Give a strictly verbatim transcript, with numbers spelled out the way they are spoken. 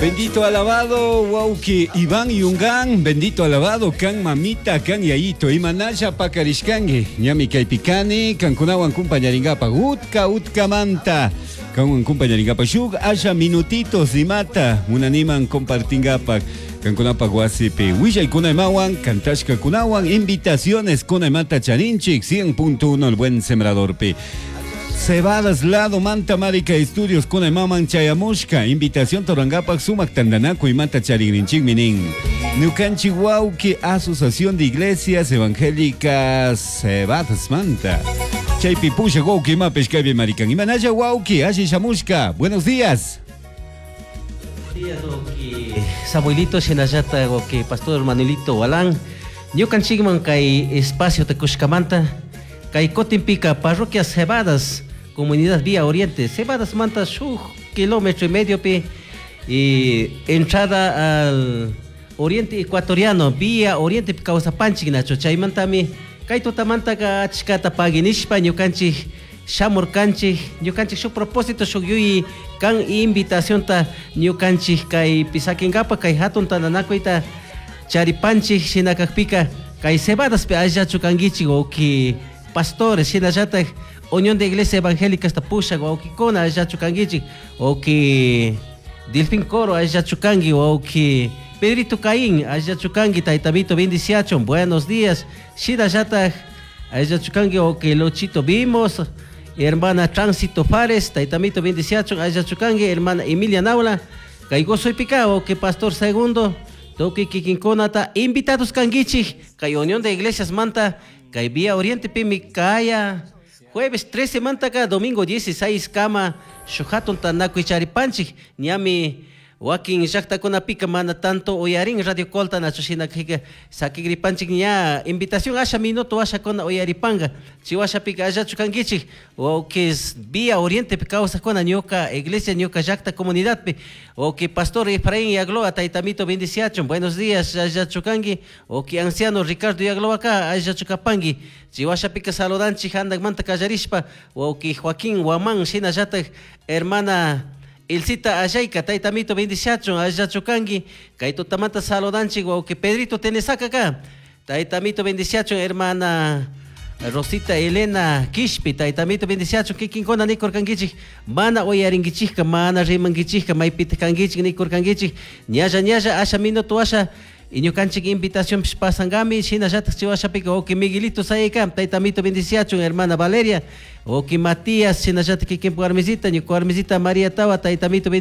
Bendito alabado, wauki Iván Yungan, bendito alabado, kan mamita, kan yayito, imanalla pakarishkangi, ñami kaypikani, kankunawan kumpañaringapa, utka utkamanta, kanwan kumpañaringapa, shuk asha minutitos imata, munaniman compartingapa, kankunapa wasipi, willaykunaymawan, kantashkakunawan, invitaciones kunaymata charinchik, cien punto uno el buen sembradorpi. Cebadas lado Manta Marica Estudios con maman chayamushka invitación torangapak sumak tandanaku y mata charigrinchik minin Ñukanchi wauki Asociación de Iglesias Evangélicas Cebadas Manta Chaypi pusha wauki mapesh kaypi marikan imanalla wauki alli shamushka. Buenos días. Buenos días, wauki Samuelito shinallata wauki Pastor Manuelito Walán ñukanchikman kay espacio te kushkamanta kay kutinpika parroquia Cebadas comunidad Vía Oriente Cebadas manta shuk kilómetro y medio pi y entrada al Oriente Ecuatoriano Vía Oriente kawsapanchik nacho chaymantami kay tutamantaka achkata paginishpa ñukanchik shamurkanchik ñukanchik shuk propósito shuk yuyi kan invitacionta ñukanchik kay pisakinkapa kay hatun tantanakuyta charipanchik shinakakpika kay Cebadaspi allachu kankichik wawki pastores shinallatak Unión de Iglesia Evangélica esta pushak wawkikuna allachu kankichik wawki Delfín Coro allachu kanki wawki Pedrito Caín allachu kanki taytamito bendiciachun buenos días shinallatak allachu kanki wawki Luchito Vimos hermana Tránsito Fares taytamito bendiciachun allachu kanki hermana Emilia Naula kay gozoypika wawki Pastor Segundo tukuy kikinkunata invitados kankichik kay Unión de Iglesias manta kay Vía Oriente pimi kaya jueves trece mantaka domingo dieciséis kama shuk hatun tanakuy charipanchik ñami wakin llaqtakunapika mana tanto uyarin Radio Colta nachu shinakika sakigripanchik ña invitación asha minuto ashakuna uyaripanga chiwashapika allachu kankichik wawkis Vía Oriente kawsakuna ñuka iglesia ñuka llaqta comunidadpi wawki Pastor Efraín Yagloa taytamito bendiciachun buenos días allachu kanki wawki anciano Ricardo Yagloa ka allachu kapanki chiwashapika saludanchik handakmanta kallarishpa wawki Joaquín Guamán shinallatak hermana Ilcita Ayayka, taytamito bendiciachun, allachu kanki, kay tutamanta saludanchik, wawki Pedrito Tenesaka ka, taytamito bendiciachun, hermana Rosita Elena Quishpi, taytamito bendiciachun, kikinkuna nikurkankichik, mana uyarinkichikka, mana rimankichikka, maypita kankichik nikurkankichik, ñalla ñalla asha minuto asha, y ñukanchik invitación pasangami, shinallatak chiwashapika, wawki Miguelito Sayayka, taytamito bendiciachun, hermana Valeria, wawki Matías, shinallatak kikinpa warmisita, ñuka warmisita María Tawa, taytamito bendiciachun.